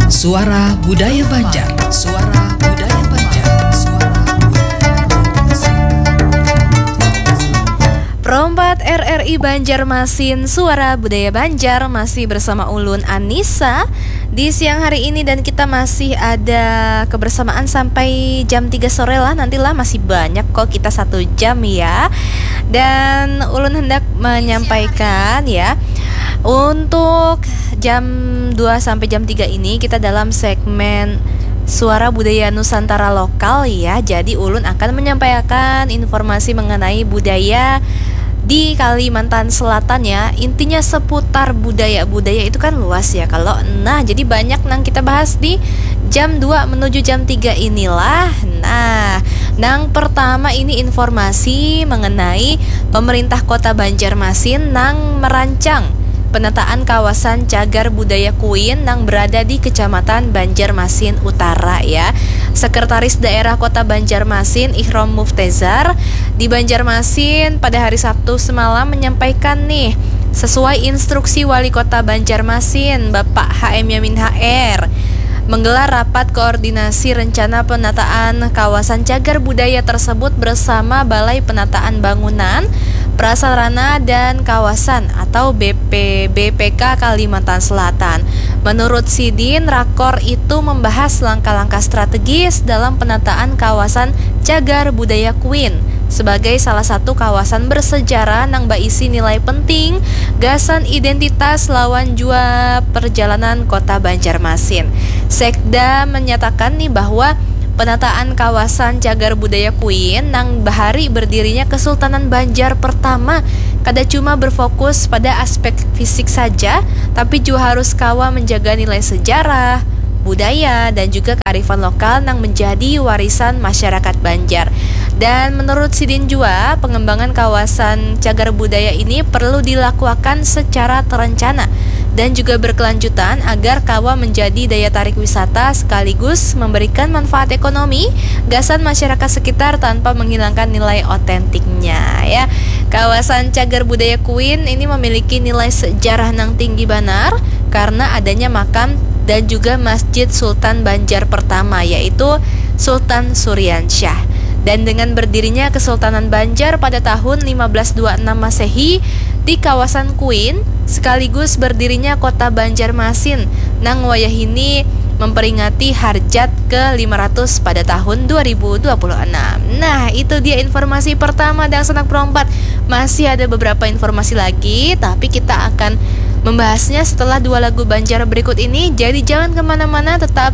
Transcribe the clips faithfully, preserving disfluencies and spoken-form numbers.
Suara Budaya Banjar. Suara Budaya Banjar. Suara Budaya Banjar. Pro empat R R I Banjarmasin, Suara Budaya Banjar, masih bersama ulun Anissa di siang hari ini, dan kita masih ada kebersamaan sampai jam tiga sore lah, nantilah, masih banyak kok kita satu jam ya. Dan ulun hendak menyampaikan ya, untuk jam dua sampai jam tiga ini kita dalam segmen Suara Budaya Nusantara Lokal ya. Jadi ulun akan menyampaikan informasi mengenai budaya di Kalimantan Selatan ya. Intinya seputar budaya. Budaya itu kan luas ya kalau. Nah, jadi banyak nang kita bahas di jam dua menuju jam tiga inilah. Nah, nang pertama ini informasi mengenai pemerintah Kota Banjarmasin nang merancang penataan kawasan cagar budaya Kuin nang berada di Kecamatan Banjarmasin Utara ya. Sekretaris Daerah Kota Banjarmasin, Ihrom Muftezar, di Banjarmasin pada hari Sabtu semalam menyampaikan nih, sesuai instruksi Wali Kota Banjarmasin, Bapak H M Yamin H R, menggelar rapat koordinasi rencana penataan kawasan cagar budaya tersebut bersama Balai Penataan Bangunan, Prasarana, dan Kawasan atau B P B P K Kalimantan Selatan. Menurut sidin, rakor itu membahas langkah-langkah strategis dalam penataan kawasan cagar budaya Kuin sebagai salah satu kawasan bersejarah nang baisi nilai penting gasan identitas lawan jua perjalanan Kota Banjarmasin. Sekda menyatakan nih bahwa penataan kawasan cagar budaya Kuin nang bahari berdirinya Kesultanan Banjar pertama kada cuma berfokus pada aspek fisik saja, tapi juga harus kawa menjaga nilai sejarah, budaya, dan juga kearifan lokal nang menjadi warisan masyarakat Banjar. Dan menurut sidin jua, pengembangan kawasan cagar budaya ini perlu dilakuakan secara terencana dan juga berkelanjutan agar kawa menjadi daya tarik wisata sekaligus memberikan manfaat ekonomi gasan masyarakat sekitar tanpa menghilangkan nilai otentiknya ya. Kawasan cagar budaya Kuin ini memiliki nilai sejarah nang tinggi banar karena adanya makam dan juga Masjid Sultan Banjar pertama, yaitu Sultan Suriansyah. Dan dengan berdirinya Kesultanan Banjar pada tahun lima belas dua enam Masehi di kawasan Kuin, sekaligus berdirinya Kota Banjarmasin nang wayahini memperingati Harjat ke lima ratus pada tahun dua ribu dua puluh enam. Nah, itu dia informasi pertama, dangsanak Pro empat. Masih ada beberapa informasi lagi, tapi kita akan membahasnya setelah dua lagu Banjar berikut ini. Jadi jangan kemana-mana, tetap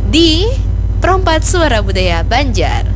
di Pro empat Suara Budaya Banjar.